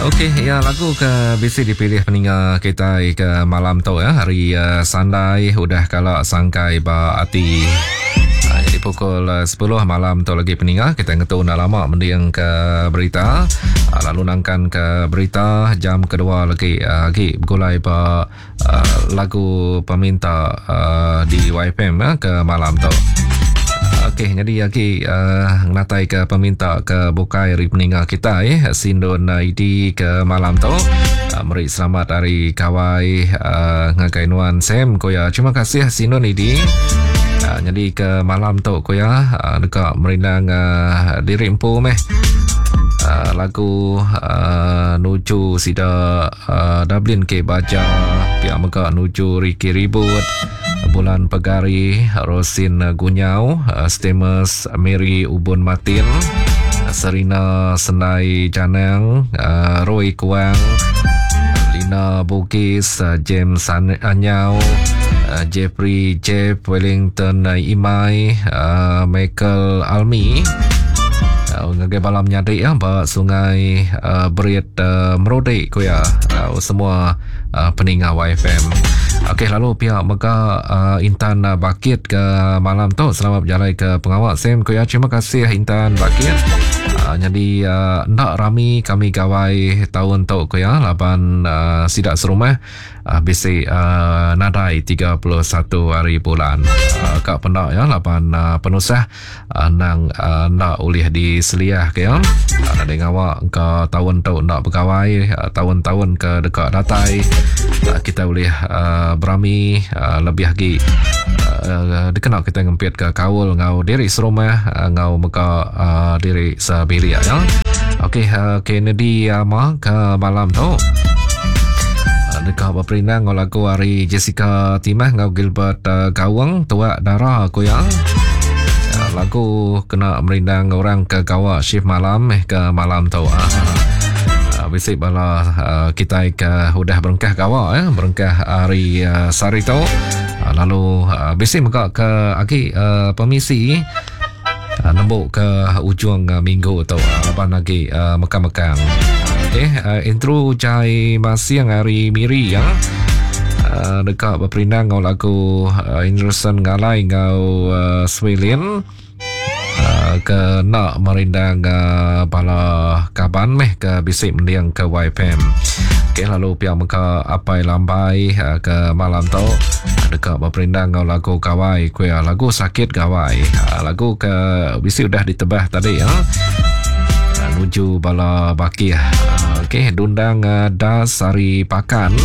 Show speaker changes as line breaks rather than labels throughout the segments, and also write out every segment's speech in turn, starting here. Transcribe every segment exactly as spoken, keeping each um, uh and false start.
Okey, ya lagu ke bisi dipilih peninga kita ke malam tu ya, hari uh, Sandai udah kala sangkai ba ati. Uh, jadi pukul sepuluh malam tu lagi peninga kita ngetu enda lama mending ke berita. Uh, lalu nangkan ke berita jam kedua lagi uh, lagi begulai ba uh, lagu peminta uh, di Y F M uh, ke malam tu. Okey, jadi lagi uh, ngatai ke peminta ke bukai hari peninga kita eh Sindun I D ke malam tu. Uh, meri selamat hari kawai uh, ngagai nuan Sam koya. Terima kasih Sindun I D. Uh, jadi ke malam tu koya uh, dekat merindang uh, diri empu meh. Uh, lagu uh, nuju sida uh, Dublin ke Baja, pihak mega nuju Ricky Ribut, Bulan Pegari, Rosin Gunyau, Stemus Mary Ubun Martin, Serina Senai Janang, Roy Kuang, Lina Bugis, James Anyau, Jeffrey Jeff Wellington Imai, Michael Almi, ngagai balam nyadik ya ba sungai uh, Berit uh, Merodik ko ya, uh, semua uh, peninga Y F M. Okey, lalu pihak mega uh, Intan uh, Bakit ke malam tu selamat berjalan ke pengawal Sam ko ya. Terima kasih Intan Bakit. Uh, jadi uh, nak rami kami gawai tahun tu ko ya laban uh, sidak serumah uh, bisi uh, nadai tiga puluh satu hari bulan. Uh, kak pendak ya laban uh, penusah uh, nang uh, nak ulih di seliah ke ya. Uh, nak ngawak ke tahun tu nak bergawai uh, tahun-tahun ke dekat datai uh, kita boleh uh, berami uh, lebih lagi uh, dikenal kita ngempit ke kaul ngau diri serumah uh, ngau mega uh, diri sebilik ya. Okey, uh, Kennedy ama ke malam tu uh, dekat berperindang ngau lagu hari Jessica Timah ngau Gilbert uh, Gawang tuak darah aku ya. Uh, lagu kena merindang orang ke gawak shift malam eh ke malam tu. Uh, Bisik bala uh, kita ke udah berengkah gawak eh berengkah hari uh, sari tu. Uh, lalu uh, bisik mega ke agi uh, permisi uh, nembuk ke ujung uh, minggu tu uh, laban lagi uh, mekang-mekang. Okey, uh, intro Jai Masiang hari Miri ya. Uh, dekat berperindang ngau lagu uh, Anderson Ngalai ngau uh, Swilin. Uh, ke nak merindang uh, bala kaban meh ke bisik mendiang ke Y F M. Okey, lalu pihak meka apai lambai uh, ke malam tu dekat berperindang ngau lagu kawai kuya lagu sakit gawai. Uh, lagu ke bisik udah ditebah tadi ya. Uh, nuju bala bakih. Uh, okey, dundang uh, das hari pakan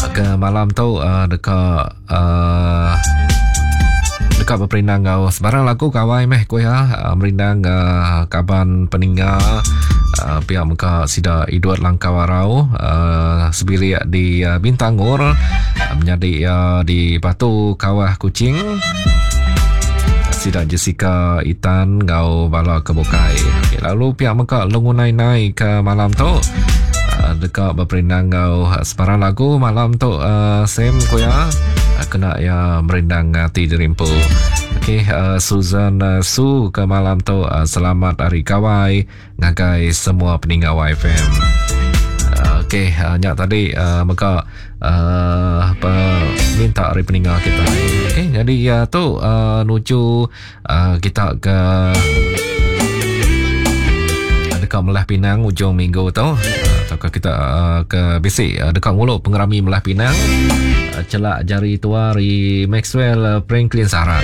uh, ke malam tu uh, dekat uh, dekat berperindang kau sebarang lagu kawai meh kuya uh, merindang uh, kaban peningga uh, pihak muka sida Edward Langkawarau uh, sebilik di uh, Bintangor uh, menjadi uh, di Batu Kawah Kucing sida Jessica Itan ngau bala kebukai. Okay, lalu pihak muka lungunai nai ke malam tu uh, dekat berperindang kau sebarang lagu malam tu uh, Sam kuya kena ya merindang hati dirimpu. Okey, uh, Susan uh, Su ke malam tu uh, selamat hari kawai ngagai semua peninggal Y F M. Uh, Okey, uh, nyak tadi uh, maka uh, apa minta hari peninggal kita. Okey, jadi uh, tu uh, nuju uh, kita ke dekat Melah Pinang ujung minggu tu. Uh, atau kita uh, ke bisik uh, dekat nguluk pengerami Melah Pinang. Uh, celak jari tua ri Maxwell uh, Franklin Saran.